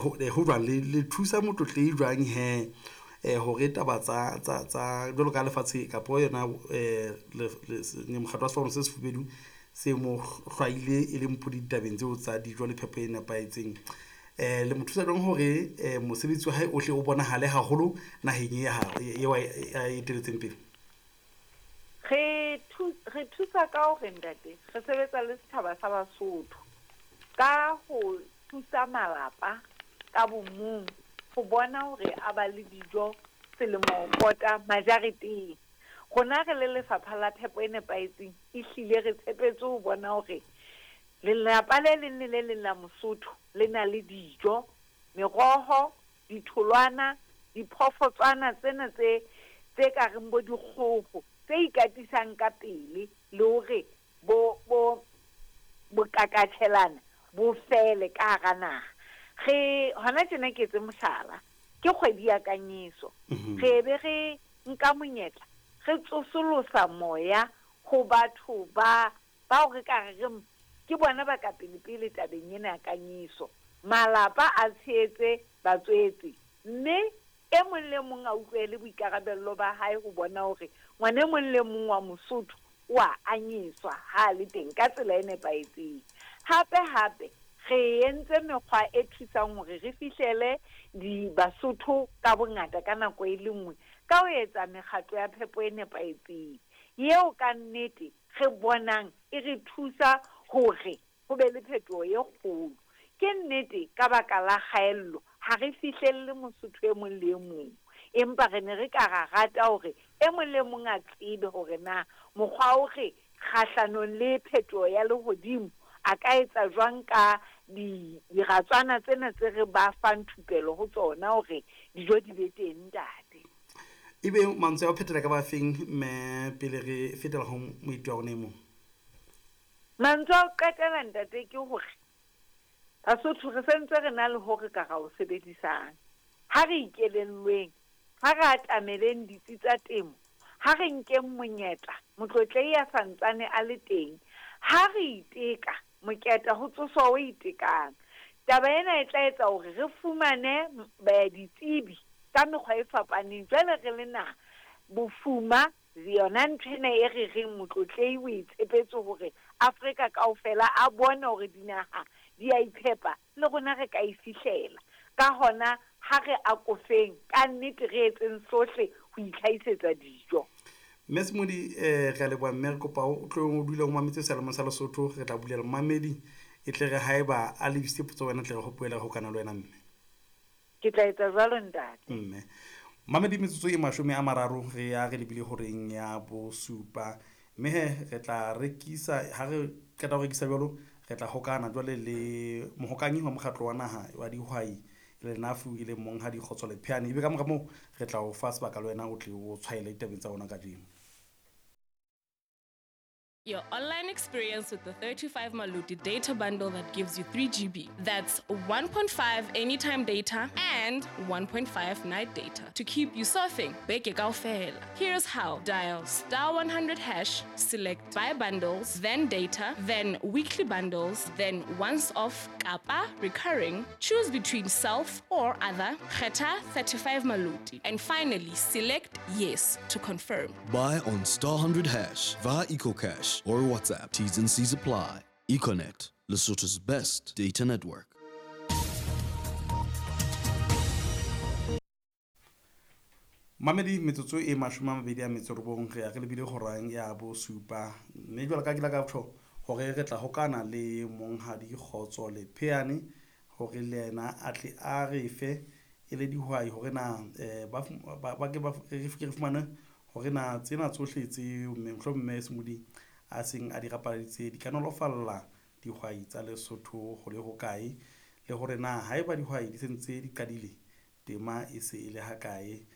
Ho jwang le thusa Motlotlehi jwang he hore taba tsa jwalo ka lefatshe kapo yona mokgatlo wa sefapano se sefubedu se mo hlwaile e le mpudi ditabeng tseo tsa dijo le phepo e nepahetseng. Le mo thusa jwang hore mosebetsi wa hae o hle o bonahale haholo naheng e ya eo a eteletseng pele? Re thusa ka hore ntate re sebetsa le setjhaba sa Basotho ka ho thusa malapa ka bomong ho bona hore a ba le dijo selemo pota majareteng. Rona re le lefapha la phepo e nepahetseng ehlile re tshepetse ho bona hore lelapa le leng le le leng la Mosotho le na le dijo, meroho, ditholwana, diphoofotswana tsena tse ka reng bo dikgoho tse ikatisang ka pele le hore bo bokakatjhelana bo fele ka hara naha. Re hona tjena ke etse mohlala, ke kgwedi ya kanyeso. Re be re nka monyetla re tsosolosa moya ho batho ba bao re ka re ke bona ba ka pele pele tabeng ena ya kanyeso. Malapa a tshehetse batswetse, mme e mong le mong a utlwele boikarabello ba hae ho bona hore ngwana e mong le mong wa Mosotho o a anyeswa ha le teng ka tsela e nepahetseng. Hape hape re entse mekgwa e thusang hore re fihlele di Basotho ka bongata ka nako e le nngwe ka ho etsa mekgatlo ya phepo e nepahetseng eo ka nnete re bonang e re thusa hore ho be le phetoho e kgolo. Ke nnete ka baka la kgaello ha re fihlelle Mosotho e mong le e mong, empa re ne re ka ra rata hore e mong le mong a tsebe hore na mokgwa o re kgahlanong le phetoho ya lehodimo a ka etsa jwang ka diratswana tsena tse re ba fang thupelo ho tsona hore dijo di be teng ntate. Ebe mantswe a ho phethela ka ba feng mme pele re fetela ho moeti wa rona e mong? Mantswe a ho qetela ntate ke hore Basotho re sentse re na le hore ka ra o sebedisang. Ha re ikelellweng, ha re atameleng ditsi tsa temo, ha re nkeng monyetla, Motlotlehi a santsane a le teng. Ha re iteka, moketa ho tsoswa o itekang. Taba ena e tla etsa hore re fumane ditsebi ka mekgwa e fapaneng. Jwale re le naha, bofuma yona ntho ena e re reng Motlotlehi o e tshepetse hore Afrika kaofela a bone hore dinaha di a iphepa, le rona re ka e fihlela. Ka hona ha re akofeng ka nnete re etseng sohle ho itlhahisetsa dijo. Mme Semodi, re a leboha mme re kopa o tlo o dule o mametse seyalemoya sa Lesotho. Re tla bulela momamedi e tle re haeba a lebisitse potso wena tle re hopoele re hokana le wena mme. Ke tla etsa jwalo ntate. Mme mamedi metsotso e 30 re ya re lebile horeng ya 7, mme he re tla rekisa ha re qeta ho rekisa jwalo re tla hokana jwale le mohokanyi wa mokgatlo wa naha wa dihwai le NAFU e leng Monghadi Kgotso Lepheane. Ebe ka mora moo re tla o fa sebaka le wena o tle o tshwaele ditabeng tsa rona kajeno. Your online experience with the 35 Maluti data bundle that gives you 3 GB. That's 1.5 anytime data and 1.5 night data to keep you surfing. Beke kaofela. Here's how. Dial *100#, select buy bundles, then data, then weekly bundles, then once off, kapa, recurring. Choose between self or other, kgetha 35 Maluti. And finally, select yes to confirm. Buy on *100# via EcoCash or WhatsApp. T's and C's apply. Econet, Lesotho's best data network. Mamedi metsotso e 29 re ya re lebile horang ya 7, mme jwalo ka ke la ka tjho hore re tla hokana le Monghadi Kgotso Lepheane hore le yena a tle a re fe e le dihwai hore na ba ke ba re fumane hore na tsena tsohle tse mohlomong mme Semodi a seng a di rapaladitse di ka nolofalla dihwai tsa Lesotho ho le hokae, le hore na haeba dihwai di sentse di qadile tema e se e le hakae.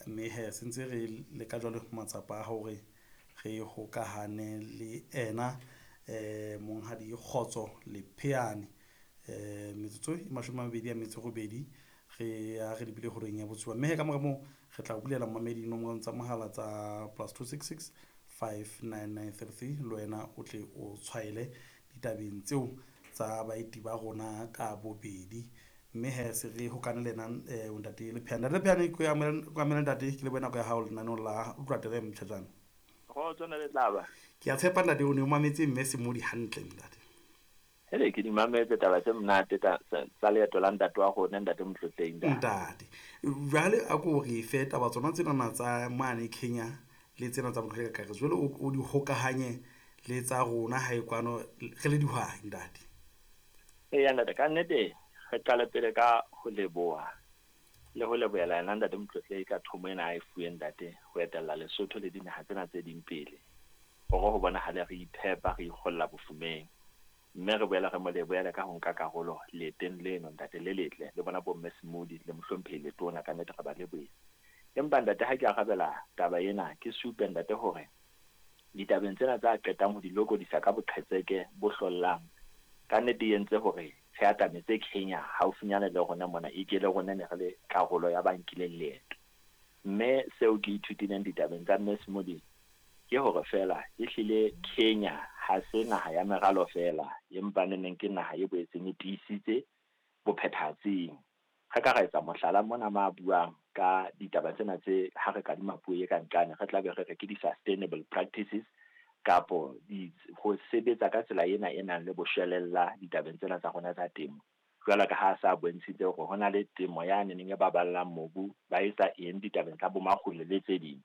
Mme he sentse re leka jwale matsapa a hore re hokahane le ena Monghadi Kgotso Lepheane. Metsotso e 28 re ya re lebile horeng ya 7, mme he ka mora moo re tla bulela mamedi dinomoro tsa mohala tsa +266 59933 le wena o tle o tshwaele ditabeng tseo tsa baeti ba rona ka bobedi. Mme he se re hokane le ena ntate Lepheane. Ntate Lepheane, ke amohele ntate, ke lebohe nako ya hao lenaneong la Utlwa Tere Mtjhatjana. Kgotso ne le tlaba. Ke a tshepa ntate o ne o mametse mme Semodi hantle ntate. Hele ke di mametse taba tse monate tsa leeto la ntate wa rona ntate Motlotlehi ntate. Ntate. Jwale a ko re fe taba tsona tsenana tsa mane Kenya le tsena tsa Motlotlehi ka kakaretso. Jwale o di hokahanye le tsa rona hae kwano re le dihwai ntate. Eya ntate, ka nnete re qale pele ka ho leboha le ho lebohela yena ntate Motlotlehi ka thomo ena a e fuweng ntate ho etella Lesotho le dinaha tsena tse ding pele hore ho bonahale re iphepa re ikgolla bofumeng. Mme re boela re mo lebohele ka ho nka karolo leeteng leno ntate le letle le bona bomme Semodi le mohlomphehi Letona, ka nnete re ba lebohile. Empa ntate ha ke arabela taba ena ke supe ntate hore ditabeng tsena tsa qetang ho di lokodisa ka boqhetseke bo hlollang ka nnete e entse hore re atametse Kenya haufinyane le rona mona e ke le rona ne re le karolo ya ba nkileng leeto. Mme seo ke ithutileng ditabeng tsa mme Semodi ke hore feela ehlile Kenya ha se naha ya meralo feela, empa neneng ke naha e boetseng e tiisitse bophethahatsing. Re ka ra etsa mohlala mona ma buang ka ditaba tsena tse ha re kadima puo e ka nqane re tla be re re ke di-sustainable practices kapo ho sebetsa ka tsela ena e nang le boshwelella ditabeng tsena tsa rona tsa temo. Jwalo ka ha sa bontshitse hore ho na le temo ya neneng e baballang mobu, ba etsa eng ditabeng tsa bomakgulo le tse ding.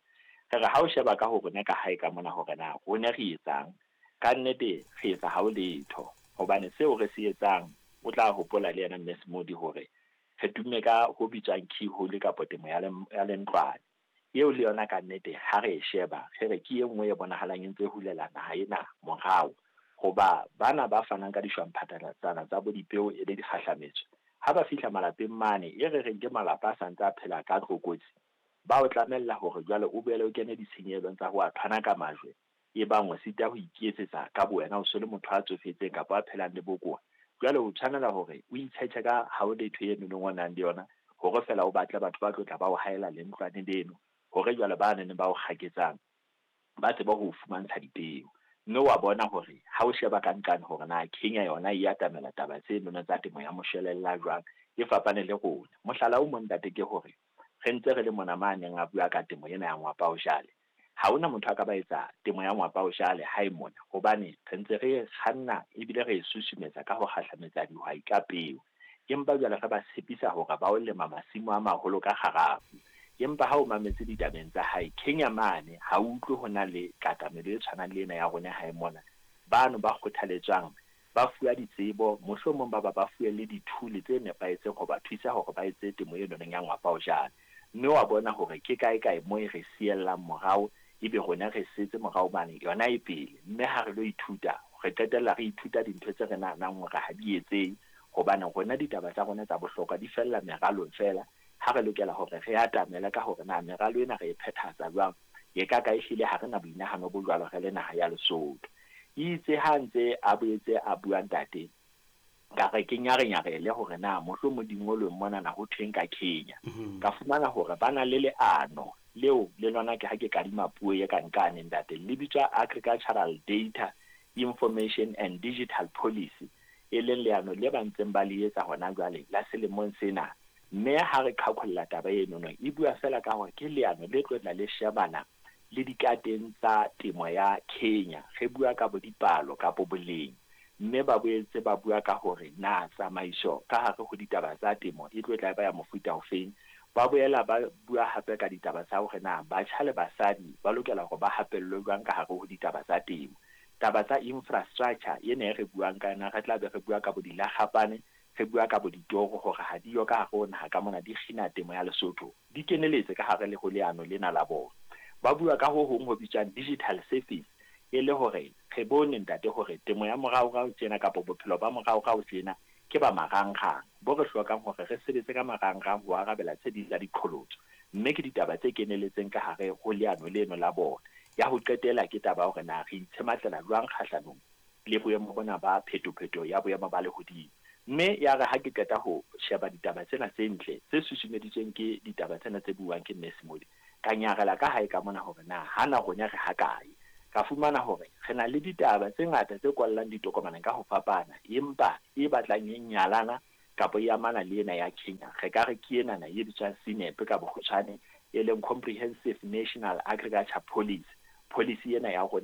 Re re ha o sheba ka ho rona ka hae ka mona hore na rona re etsang, ka nnete re etsa ha o letho. Hobane seo re se etsang, o tla hopola le yena mme Semodi hore re tumme ka ho bitswang keyhole kapo temo ya lentlwane. Eo le yona ka nnete ha re e sheba, re re ke e nngwe e bonahalang e ntse hulela naha ena morao. Hoba bana ba fanang ka dishwamphathalatsana tsa bo dipeo e le dikgahlametso, ha ba fihla malapeng mane e re reng ke malapa a sa ntse a phela ka tlokotsi, ba o tlamella hore jwale o boele o kene ditshenyehelong tsa ho a thwana ka majwe, e bang o sita ho iketsetsa ka bowena, o se le motho a tsofetseng kapa a phelang le bokowa. Jwale o tshwanela hore o itshetjhe ka ha o letho eno nong o nang le yona, hore feela o batle batho ba tlo tla ba o haela lentlwane leno, hore jwale ba neng ba o kgaketsang ba tsebe ho fumantsha dipeo. Mme wa bona hore ha o sheba ka nqane hore na Kenya yona e atamela taba tse nono tsa temo ya moshwelella jwang, e fapane le rona. Mohlala o mong ntate ke hore re ntse re le mona ma neng a bua ka temo ena ya ngwapa o jale. Ha hona motho a ka ba etsa temo ya ngwapa o jale hae mona, hobane re ntse re kganna ebile re e susumetsa ka ho kgahlametsa dihwai ka peo. Empa jwale re ba tshepisa hore ba o lema masimo a maholo ka kgarafu. Empa ha o mametse ditabeng tsa hae Kenya mane, ha o utlwe ho na le katamelo e tshwanang le ena ya rona hae mona. Bano ba kgothaletswang ba fuwa ditsebo, mohlomong ba ba fuwe le dithule tse nepahetseng ho ba thusa hore ba etse temo e nonong ya ngwapa o jale. Mme wa bona hore ke kae kae mo e re siellang morao, ebe rona re setse morao mane yona e pele. Mme ha re lo ithuta, re qetella re ithuta dintho tse re nahanang hore ha di etsehe, hobane rona ditaba tsa rona tsa bohlokwa di fella meralong feela. Ha re lokela hore re atamele ka hore na meralo ena re e phethahatsa jwang, e ka ka ehlile ha re na boinahano bo jwalo re le naha ya Lesotho. Itse ha ntse a boetse a bua ntate, ka re ke nyarenyarele hore na mohlomong dingolweng mona na ho thweng ka Kenya. Ka fumana hore ba na le leano leo le lona ke ha ke kadima puo e ka nqane ntate, le bitswa Agricultural Data Information and Digital Policy, e leng leano le ba ntseng ba le etsa hona jwale la selemong sena. Mme ha re qhaqholla taba eno no, e bua feela ka hore ke leano le tlo tla le shebana le dikateng tsa temo ya Kenya. Re bua ka bo dipalo kapo boleng, mme ba boetse ba bua ka hore na tsamaiso ka hare ho ditaba tsa temo e tlo tla ba ya mofuta ofeng. Ba boela ba bua hape ka ditaba tsa hore na batjha le basadi ba lokela hore ba hapellwe jwang ka hare ho ditaba tsa temo. Taba tsa infrastructure ena e re buang ka yona, re tla be re bua ka bo dilakgapane, re bua ka bo ditoro hore ha di yo ka hare ho naha ka mona di kgina temo ya Lesotho, di keneletse ka hare le ho leano lena la bona. Ba bua ka ho hong ho bitswang digital service, e le hore re bone ntate hore temo ya moraorao tjena kapa bophelo ba moraorao tjena ke ba marangrang, bo re hlokang hore re sebetse ka marangrang ho arabela tse ding tsa diqholotso. Mme ke ditaba tse keneletseng ka hare ho leano leno la bona. Ya ho qetela ke taba hore na re itshematlela jwang kgahlanong le boemo bona ba phetopheto ya boemo ba lehodimo. Mme ya re ha ke qeta ho sheba ditaba tsena tse ntle tse susumeditsweng ke ditaba tsena tse buang ke Mme Semodi, ka nyarela ka hae ka mona hore na hana rona re ha kae. Ka fumana hore re na le ditaba tse ngata tse kwallang ditokomaneng ka ho fapana, empa e batlang e nyalana Kapa e amana le ena ya Kenya, re ka re ke enana e bitswang CNAP ka bokgutshwane, e leng Comprehensive National Agriculture Policy. Policy ena ya rona.